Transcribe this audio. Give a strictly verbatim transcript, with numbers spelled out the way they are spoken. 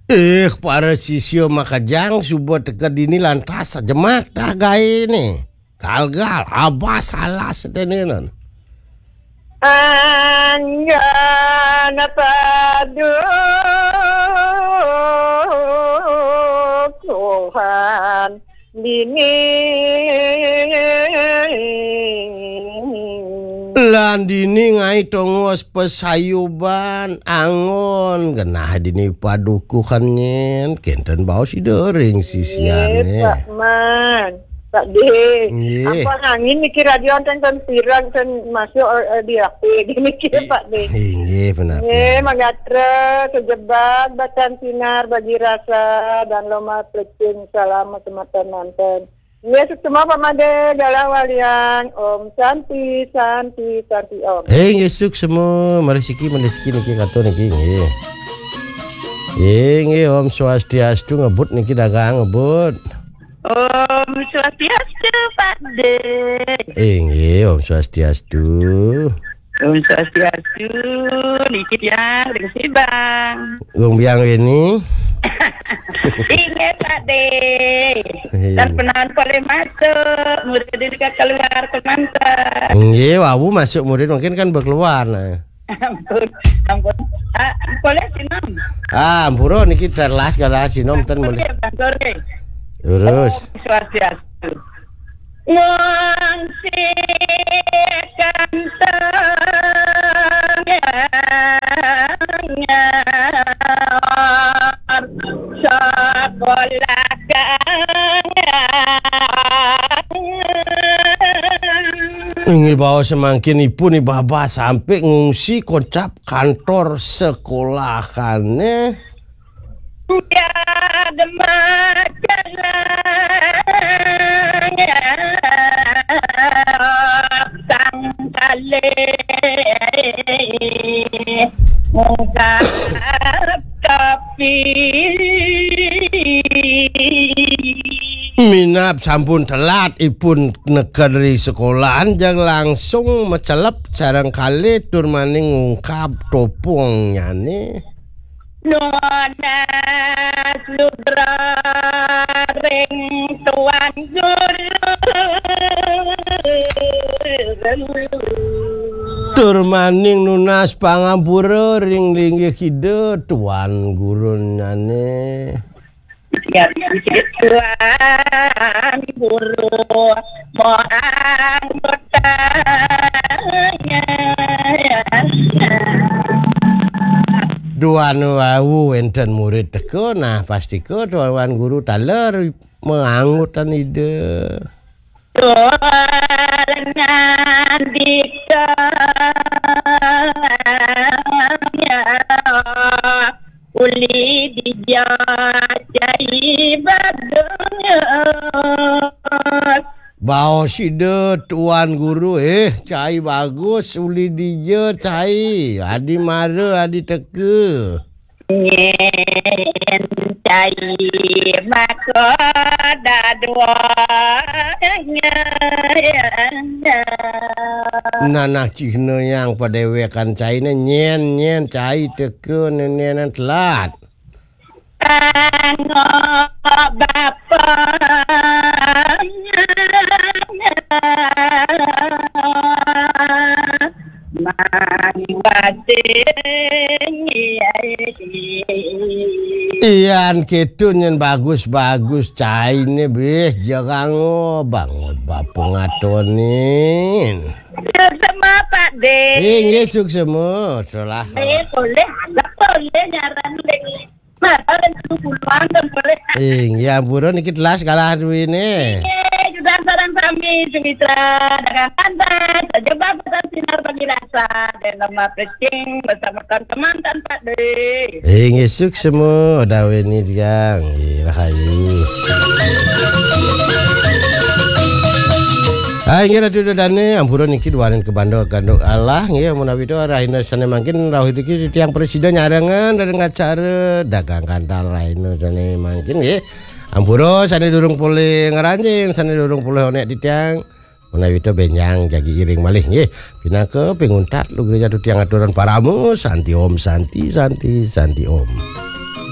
Eh, para sisya makejang suba teka dini lantas jemak dah gaéné. Galgal, abas alas déné. Anggana padukuhan dini. Lan dini ngai tongos pasayuban anggon genah dini padukuhan nyén kénten baos Ida ring sisiané. Pak Man. Pak Dé. Nggih. Apa angin niki radio ten ten pirang ten masuk, eh, di H P niki, Pak Dé. Inggih, benar. Nggih, manggatra kejebak batan sinar bagi rasa dan loma plecing salam sematan manten. Nggih, suksma Pak Madé, galah walian. Om Santi, Santi, Santi Om. Eh, nggih, suksma, mari siki, mari siki niki katur niki nggih. Nggih, nggih, Om Swastiastu, ngebut niki dagang ngebut. Om Swastiastu, Pak Dé. Inggih, Om Swastiastu. Om Swastiastu, niki tiang ring Sibang. Wong Biang Weni. Inggih, Pak Dé. Iya. Tan penahan polih masuk, murid ini keluar kemanten. Nggih, wau masuk murid mungkin kan berkeluar nah. Ampun, ampun. Ah, polih sinom. Ah, ampura niki telas galah sinom ten polih. Polih, bantul, nggih. Lurus. Om Swastiastu. Ngungsi kantong sekolah kang. Inggih baos semangkin ipun ibabas sampai ngungsi kocap kantor sekolahane. Dia demak jalan sang kalih ngungkap tapi. Minab sampun telat ipun neked ri sekolahan, jag langsung mecelep sareng kalih tur maning ngungkap topongnyane. Nunas lugra ring Tuan Guru. Tur maning nunas pangampura ring linggih Ida Tuan Gurunyane. Tuan Guru moang bertanya. Duan wau wenten murid teka, nah pastika Tuan Guru taler meangutan Ida. Tuan ngandika uli dija cai bagus. Baos Ida Tuan Guru, eh, cai bagus, uli dija cai, adi mara, adi teka. Nyen cai maka daduanya. Nanah cihna yang padewekan caine nyen, nyen cai teka nenenan telat. Angok bapa manwasing. Iyan keto nyen bagus-bagus caine bih jerang bang bapa ngatonin. Suksma, Pak De. Inggih suksma, salah. Eh, boleh, boleh nyaran dek. Nah, ada tujuh puluhan kan boleh. Inggih ampura niki telas galah duwine. Inggih, jutaan sareng sami, sumitra dagang pantai, terjebak pesan sinar bagi rasa, dan nama plecing bersama teman-teman Pak De. Inggih suksma daweni tiang. Inggih rahayu. Ah, inggih Ratu Dadane, ampura niki duaning kebanda gandok Allah, nggih menawi to rahina sane mangkin rauh niki titiang presida nyarengan ring acara dagang kantal rahina sane mangkin nggih. Ampura sane durung polih ngranjing, sane durung polih onek titiang menawi to benjang jagi iring malih nggih. Pinaka pinguntat lugrejatu tiang aturan parama santi om santi santi santi om.